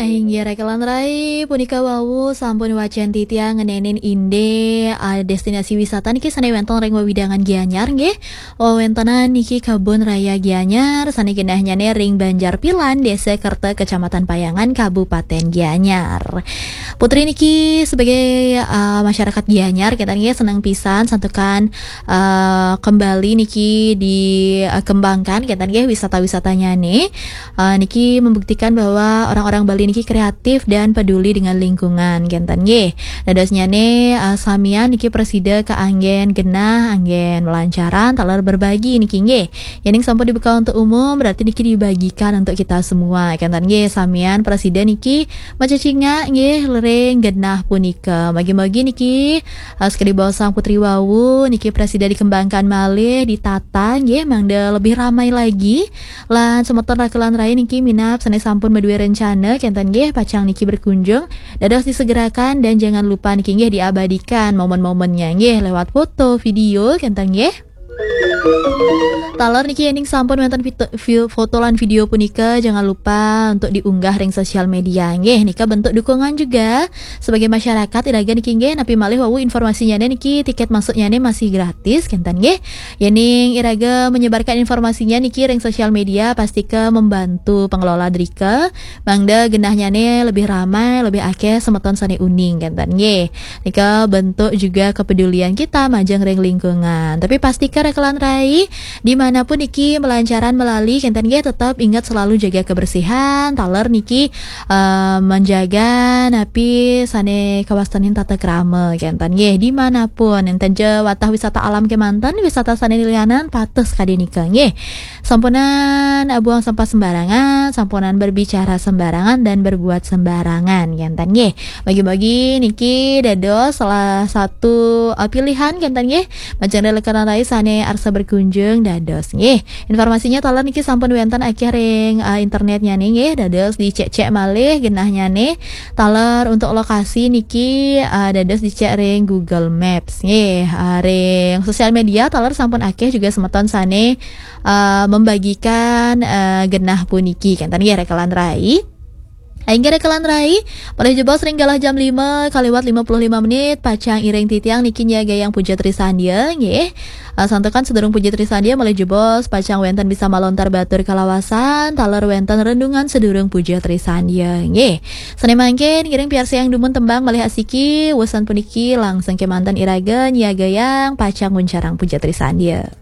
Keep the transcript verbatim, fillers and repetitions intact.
Inggih rekelan rai, punika wau sampun wacén titiang ngenénin indik, ah, destinasi wisata niki sané wénten ring wewidangan Gianyar nggih. Wewéntenan niki Kebun Raya Gianyar sané genahnya ring Banjar Pilan, Désa Kerta, Kecamatan Payangan, Kabupaten Gianyar. Putri niki sebagai, ah, masyarakat Gianyar, kita niki seneng pisan santukan, ah, kembali niki dikembangkan, kita nggih wisata-wisatanya nih. Ah, niki membuktikan bahwa orang-orang Bali niki kreatif dan peduli dengan lingkungan, kénten nggih. Dadosnya nih, ah, samian niki prasida kaanggén genah, anggén melancaran, taler berbagi niki nggih. Yéning sampun dibuka untuk umum, berarti niki dibagikan untuk kita semua, kénten nggih. Samian prasida niki macecingak nggih ring genah punika. Magi-magi niki, ah, sekadi baosang Putri wau, niki prasida dikembangkan malih, ditata nggih, mangda lebih ramai lagi. Lan semeton rekelan rai niki minab sané sampun madué rencana, kénten nggih, pacang niki berkunjung. Dados disegerakan dan jangan lupa niki nggih diabadikan momen-momennya nggih lewat foto, video, kénten nggih. Taler niki yéning sampun wénten fito-, vi-, foto lan video punika, jangan lupa untuk diunggah ring sosial media nggih. Nika bentuk dukungan juga sebagai masyarakat iraga niki nggih, napi malih wau informasinya niki tiket masuknya nih masih gratis, kénten nggih. Yéning iraga menyebarkan informasinya niki ring sosial media, pastika membantu pengelola drika, mangda genahnya nih lebih ramai, lebih akeh semeton sané uning, kénten nggih. Nika bentuk juga kepedulian kita majeng ring lingkungan. Tapi pastika rekelan rai, dimanapun niki melancaran melali, kénten nggih, tetap ingat selalu jaga kebersihan, taler niki, eh, menjaga napi sané kawastanin tata krama, kénten nggih, dimanapun, énten ja watah wisata alam kémanten, wisata sané lianan, patuh sakadi nika nggih. Sampunan, eh, buang sampah sembarangan, sampunan berbicara sembarangan dan berbuat sembarangan, kénten nggih. Bagi-bagi niki dados salah satu, eh, pilihan, kénten nggih. Majeng rekelan rai sané arsa berkunjung dados nggih. Informasinya taler niki sampun wénten akeh ring, eh, internetnya nih nggih. Dados dicek-cek malih genahnya nih. Taler untuk lokasi niki, eh, dados dicek ring Google Maps nggih. Eh, ring sosial media taler sampun akeh juga semeton sané, eh, membagikan, eh, genah puniki, kénten nggih rekelan rai. Inggih rekelan rai, malih jebos ring galah jam lima kaliwat lima puluh lima menit, pacang iring titiang niki nyiagayang puja trisandia, nggih. Eh, santukan sedurung puja trisandia malih jebos, pacang wénten bisa malontar batur kalawasan, taler wénten renungan sedurung puja trisandia, nggih. Sané mangkin ngiring piarsayang dumun tembang malih asiki, wusan puniki langsung kémanten iraga nyiagayang pacang nguncarang puja trisandia.